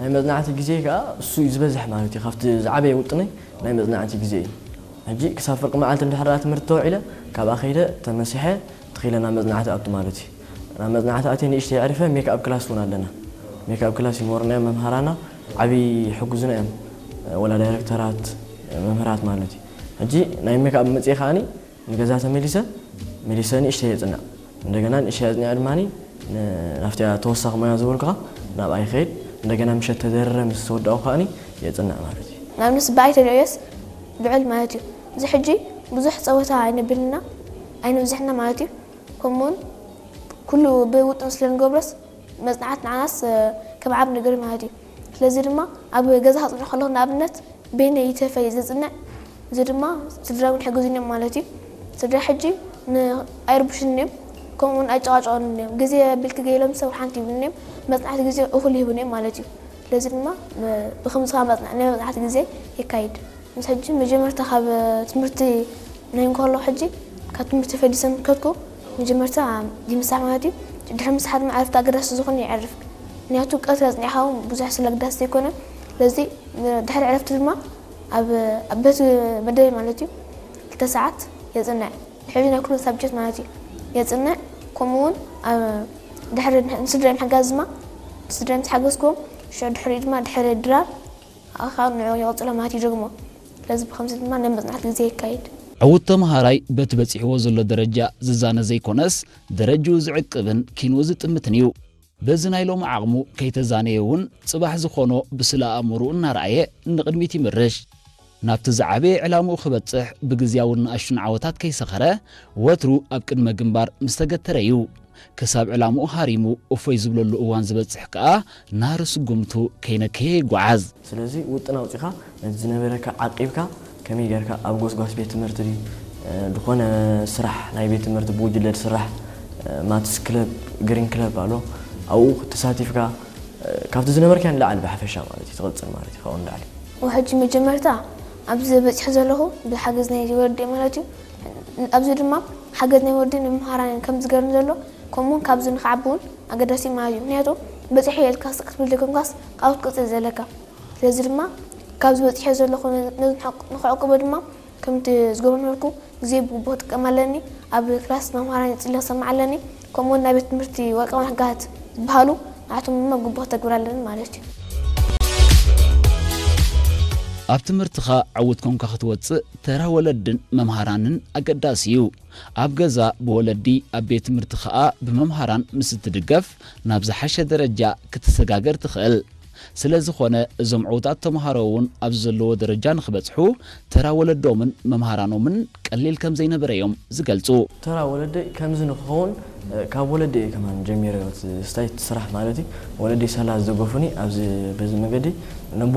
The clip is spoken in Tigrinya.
ናይ መጽናዕቲ ግዜ ከኣ እሱ እዩ ዝበዝሕ ማለት እዩ። ካብቲ ዝዓበየ ውጥነይ ናይ መጽናዕቲ ግዜ እዩ። ሕጂ ክሳብ ፍርቂ መዓልቲ እንድሕር ደኣ ትምህርቲ ተውዒለ፣ ካብኣ ከይደ ተመሲሐ ትኺለ ናብ መጽናዕቲ ኣቱ ማለት እዩ። ናብ መጽናዕቲ ኣትየ ንእሽተይ የዕርፈ፣ ሜክኣፕ ክላስ እውን ኣለና። ሜክኣፕ ክላስ ይመሩና እዮም መምሃራና፣ ዓብዪ ይሕግዙና እዮም። ወላ ዳይረክተራት፣ መምህራት ማለት እዩ። ሕጂ ናይ ሜክኣፕ መጽኤ ከኣኒ ንገዛ ተመሊሰ፣ መሊሰ ንእሽተይ የጽንዕ። እንደገና ንእሽተይ ኣጽኒዐ ድማ ን-፣ ናብቲያ ተወሳኺ ሞያ ዝበልኩኻ ናብኣ ይኸይድ። እንደገና ምሸት ተደርረ ምስ ተወዳእኩ ከኣኒ የጽንዕ ማለት እዩ። ንኣብነት በኣይ ተልዕዮስ ልዑል ማለት እዩ። እዚ ሕጂ ብዙሕ ጸወታ ኣይነብልና፣ ኣይነብዝሕና ማለት እዩ። ከምኡውን ኩሉ ብውጥን ስለ ንገብሮስ መጽናዕት ንዓናስ፣ እ፣ ከም ዓብ ነገር ማለት እዩ። ስለዚ ድማ ኣብ ገዛ ከጽንዕ ከለኹ ንኣብነት በይነይ ይተፈ እየ ዘጽንዕ። እዚ ድማ ስድራ እውን ይሕግዙኒ እዮም ማለት እዩ። ስድራ ሕጂ ን-፣ ኣይርብሹኒ እዮም፣ ከምኡውን ኣይጨቃጨቁኒ እዮም። ግዜ ኣቢልኪ ገይሎም ሰብ ሓንቲ ይብሉኒ እዮም። መጽናዕቲ ግዜ እኹል ይህቡኒ እዮም ማለት እዩ። ስለዚ ድማ ብ-፣ ብኸምዚ ከኣ መጽና-፣ ናይ መጽናዕቲ ግዜ የካይድ። ምስ ሕጂ መጀመርታ ካብ ትምህርቲ ናይ እንከሎ ሕጂ ካብ ትምህርቲ ፈሊሰ ምከድኩ መጀመርታ ይምሳሕ ማለት እዩ። ድሕሪ ምሳሕ ድማ ዕረፍቲ ኣገዳሲ ዝኾነ የዕርፍ። ምክንያቱ ቀትሪ ኣጽኒዕኻ እውን ብዙሕ ስለ ኣገዳሲ ዘይኮነ። ስለዚ ድሕሪ ዕረፍቲ ድማ ኣብ፣ ኣብ ቤት መደበይ ማለት እዩ ክልተ ሰዓት የጽንዕ። ድሕሪ ናይ ኩሉ ሳብጀክት ማለት እዩ የጽንዕ። ከምኡ እውን ኣብ ድሕሪ ንስድራይ ምሕጋዝ ድማ ስድራይ ምስ ሓገዝኩዎም ሽዑ ድሕሪኡ ድማ ድሕሪ ድራር ኣኻል ንዑ ይቕጽሎ ማለት እዩ ደግሞ። ስለዚ ብኸምዚ ድማ ናይ መጽናዕቲ ግዜ የካይድ። ዕዉት ተምሃራይ በቲ በጺሕዎ ዘሎ ደረጃ ዝዛነ ዘይኮነስ ደረጅኡ ዝዕቅብን ኪንኡ ዝጥምትን እዩ። በዚ ናይ ሎሚ ዓቕሙ ከይተዛነየ እውን ጽባሕ ዝኾኖ ብስለ ኣእምሮኡ እናረኣየ ንቕድሚት ይምርሽ። ናብቲ ዝዓበየ ዕላምኡ ክበጽሕ ብግዝያውን ንኣሽቱን ዓወታት ከይሰኸረ ወትሩ ኣብ ቅድመ ግንባር ምስ ተገተረ እዩ። ክሳብ ዕላምኡ ሃሪሙ እፎይ ዝብለሉ እዋን ዝበጽሕ ከኣ ናህሪ ስጉምቱ ከይነከየ ይጓዓዝ። ስለዚ ውጥን ኣውጺኻ ነቲ ዝነበረካ ዓቂብካ ከመይ ጌርካ ኣብ ጎስጓስ ቤት ትምህርቲ ድዩ፣ እ፣ ዝኾነ ስራሕ ናይ ቤት ትምህርቲ ብጉጅለ ዝስራሕ፣ እ፣ ማትስ ክለብ፣ ግሪን ክለብ ኣሎ፣ ኣብኡ ተሳቲፍካ፣ እ፣ ካብቲ ዝነበርካዮ ንላዕሊ ብሓፈሻ ማለት እዩ ትቕጽል ማለት እዩ ካብኡ ንላዕሊ። ወሕጂ መጀመርታ ኣብዚ በጺሐ ዘለኹ ብሓገዝ ናይ ወለዲ ማለት እዩ። ኣብዚ ድማ ሓገዝ ናይ ወለዲ ንመምሃራን ከም ዝገርም ዘሎ ከምኡውን ካብዚ ንክዓቢ እውን ኣገዳሲ ማለት እዩ። ምክንያቱ በጺሐ ኢልካ ስቅ ክትብል ዘይኮንካስ ካብኡ ክትቅጽል ዘለካ። ስለዚ ድማ ካብዚ በጺሐ ዘለኹ ነዚ ንክዕቅቦ ድማ ከምቲ ዝገብሮ ነበርኩ ግዜ ብግቡእ ክጥቀም ኣለኒ። ኣብ ክላስ መምሃራን ይጽለ ክሰምዕ ኣለኒ። ከምኡውን ናይ ቤት ትምህርቲ ወርቃውያን ሕግጋት ዝበሃሉ ንዓቶም ድማ ብግቡእ ክተግብር ኣለኒ ማለት እዩ። ኣብ ትምህርትኻ ዕዉት ኮንካ ክትወጽእ ተራ ወለድን መምሃራንን ኣገዳሲ እዩ። ኣብ ገዛ ብወለዲ፣ ኣብ ቤት ትምህርቲ ኸኣ ብመምሃራን ምስ እትድገፍ ናብ ዝሓሸ ደረጃ ክትሰጋገር ትኽእል። ስለ ዝኾነ እዞም ዕዉታት ተምሃሮ እውን ኣብዚ ዘለዎ ደረጃ ንኽበጽሑ ተራ ወለዶምን መምሃራኖምን ቀሊል ከም ዘይነበረ እዮም ዝገልጹ። ተራ ወለደይ ከምዚ ንክኸውን፣ እ፣ ካብ ወለደይ እየ ከማን ጀሚረ፣ እቲ ስታይ ስራሕ ማለት እዩ። ወለደይ ሳላ ዝደገፉኒ ኣብዚ፣ በዚ መገዲ ነቦ